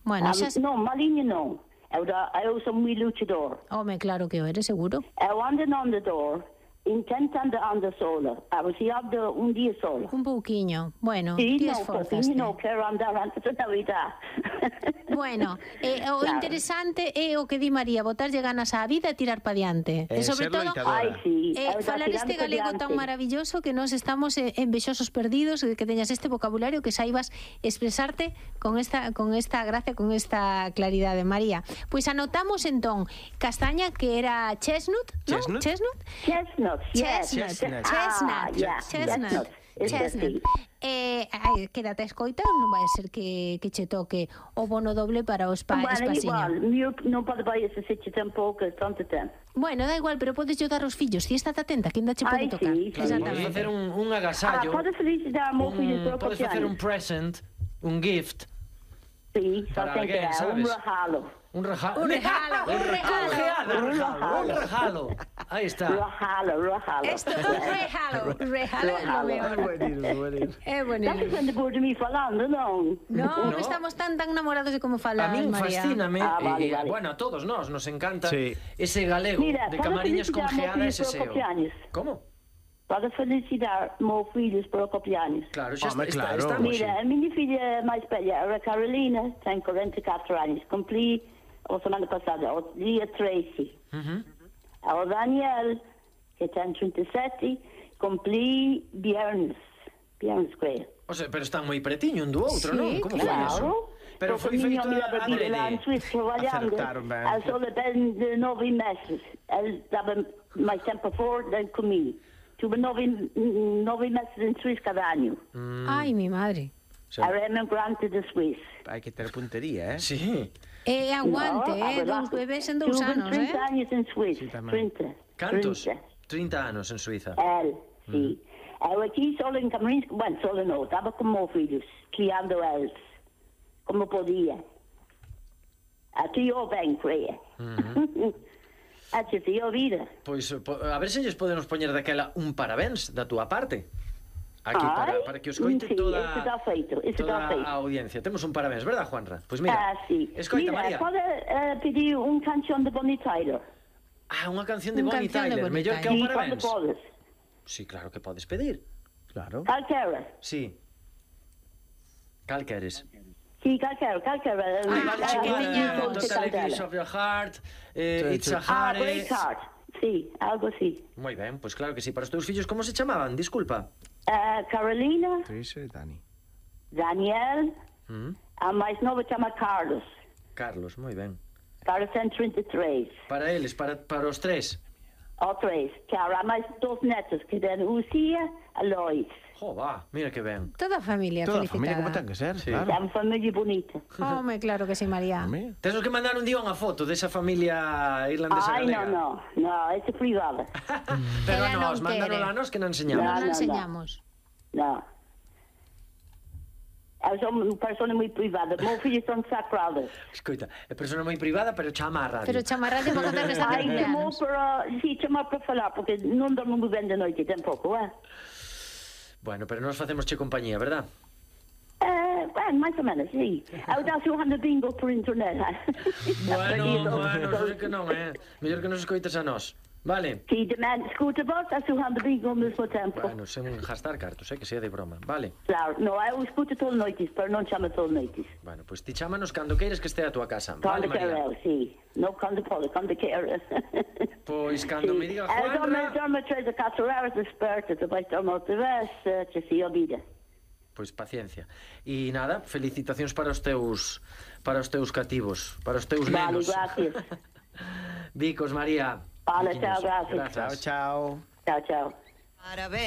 Bueno, Non, maliña non. Eu son moi luchador. Home, claro que o eres, seguro. Eu ando no andador, intentando andar sola. A ver se ando un día sola. Un pouquiño. Bueno, Sí, ti no, esforzaste. non quero andar antes da Navidad. Bueno, o interesante é o que di María, botarlle ganas á vida e tirar pa diante. E sobre ser todo, loitadora. falar este galego tan maravilloso que nós estamos envexosos perdidos de que teñas este vocabulario, que saibas expresarte con esta gracia, con esta claridade, María. Pois anotamos entón castaña, que era chestnut, ¿no? Chestnut? Chestnut. Quédate a escoita, non vai ser que che toque o bono doble para os pais. Bueno, igual, non pode vai ese seche tampouco, tanto tempo. Bueno, da igual, pero podes ayudar aos fillos. Si estás atenta, que ainda che pode tocar. Sí, podes facer un agasallo. Podes felicitar ao fillo por o Podes facer un present, un gift. Sí, para alguén, sabes? Un regalo. Un regalo. Aí está. Regalo. Esto é un regalo é lo mejor. É bonito. Estás sendo por mí falando, non? No, estamos tan namorados de como falas, A min María. fascíname, vale. bueno, a todos nos encanta Sí. ese galego de Camariñas con geada e ese seo. Como? Podes felicitar meus filhos por o cumpleaños. Claro, xa claro. estamos. Mira, a minha filha máis velha, a Carolina, tem 44 anos. Cumpri a semana passada, o dia 13. O Daniel, que tem 37, cumpri viernes creio. O sea, pero están moi pretiño un do outro, non? Como foi eso? Pero foi feito adrede. Lá en Suíça trabalhando, ele só de 9 meses. Ele estava mais tempo fora do que comigo. Tuve 9 meses en Suiza cada año. Ai, mi madre. Era emigrante de Suiza. Hai que ter puntería, eh? Sí. Aguante, dous bebés en 2 anos, Tuve 30 años en Suiza. 30. Cantos? 30 anos en Suiza. Él, sí. Eu aquí solo en Camariñas, bueno, solo no, estaba con meus filhos, criando eles, como podía. Aquí eu ben, creia. Tío vida. Pois a ver se lles podemos poñer daquela un parabéns da túa parte. Aquí para que os coite toda a audiencia. Temos un parabéns, verdad, Juanra? Pois mira, sí. Escoita, mira, María. Pode pedir un canción de Bonnie Tyler. Unha canción de Bonnie Tyler, mellor que o Sí, parabéns. podes. Sí, claro que podes pedir. Claro. Calquera. Sí. Cal queres? Sí, calquera. Don't tell a piece of your heart, It's a Heart. Breakheart. Sí, algo así. Moi ben, pois claro que sí. Para os teus fillos, como se chamaban? Disculpa. Carolina, Trisha e Dani. Daniel, a máis novo chama Carlos. Carlos, moi ben. Carlos ten 33. Para eles, para os tres. O 3. Claro, há máis 2 netos, que ten Lucía a Lois. Jo, va, mira que ben. Toda a familia Toda a felicitada. familia como ten que ser, Sí. claro. É unha familia bonita. Home, claro que sí, María. Tesos que mandar un día unha foto desa familia irlandesa Ai, galega. no, esa é privada. Pero Ela a nos, non mandaron quere. a nos que non enseñamos. Non no. enseñamos. No. Eu sou unha persona moi privada. Meus filhos son sagrados. Escoita, é persona moi privada, pero chama a radio. Pero chamarrade para contar que está de Ai, chamou cumpleaños. para falar, porque non dormo moi ben de noite, tampouco, Bueno, pero nos facemos che compañía, verdad? Bueno, máis ou menos, sí. Eu dá xogando bingo por internet. Bueno, non sei que non, mellor que nos escoites a nós. Vale? Si, demanda, escuta vos, está xogando bingo ao mesmo tempo. Bueno, sen gastar cartos, que sea de broma. Vale. Claro, no, eu escuto todas as noites, pero non chama todas as noites. Bueno, pois ti chámanos cando queires que estea a tua casa. Vale, Cando quero María? eu, sí. Non cando pode, cando quero. Pois cando me diga Juanra... Juanra... dorme 3 a 4 horas desperta, depois dorme outra vez, que se olvida. Pois paciencia. E nada, felicitacións para os teus cativos, para os teus Vale, nenos. gracias. Bicos, María. Vale, chao, gracias. Grazas. Chao, chao. Chao, chao. Parabéns.